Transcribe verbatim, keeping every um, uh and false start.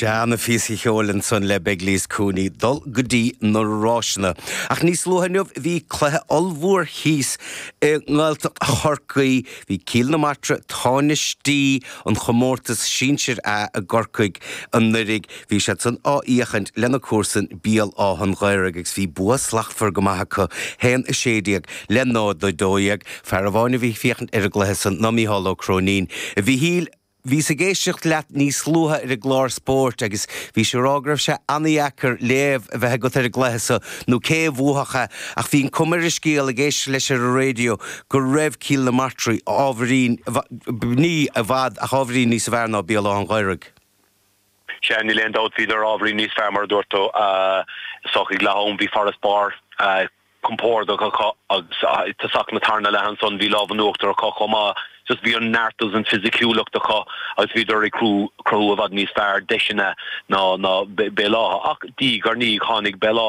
Seana-phíosa ceoil ansan le Begley's Cooney dul go dtí na ráiseanna. Ach níos luaithe inniu bhí cluiche ollmhór thíos i nGaeltacht Chorcaí, bhí Cill na Martra tánaistí an chomórtas sinsir A i gCorcaigh anuraidh, bhí siad san á fhiachaint lena comharsain Béal Átha an Ghaorthaidh agus bhí bua slachtmhar go maith acu haon a sé déag le náid a dó dhéag. Fear amháin a bhí ag féachaint ar an gcluiche san ná Mícheál Ó Cróinín. A Mhíchíl, Bhíos ag éisteacht leat níos luaithe ar an gclár spóirt agus bhís ag rá go raibh sé an-dheacair léamh a bheith agat ar an gcluiche so nó cé a bhuafadh é ach bhí an cuma ar an scéal ag éisteacht leis ar an raidió go raibh Cill na Martra ábhairín, ní i bhfad ach ábhairín níos fearr ná Béal Átha an Ghaorthaidh. Sea, níl aon dabht, bhíodar ábhairín níos fearr mar a dúirt tú. Is dócha ag leath am bhí farasbarr. compordach acu agus i dtosach na tarna leath ansan bhí lámh in uachtar acu chomh maith. Just bhí an neart agus an fisiciúlacht acu agus bhíodar ag cruthú i bhfad níos fearr deiseanna ná ná Béal Átha. Ach diaidh ar ndiaidh tháinig Béal Átha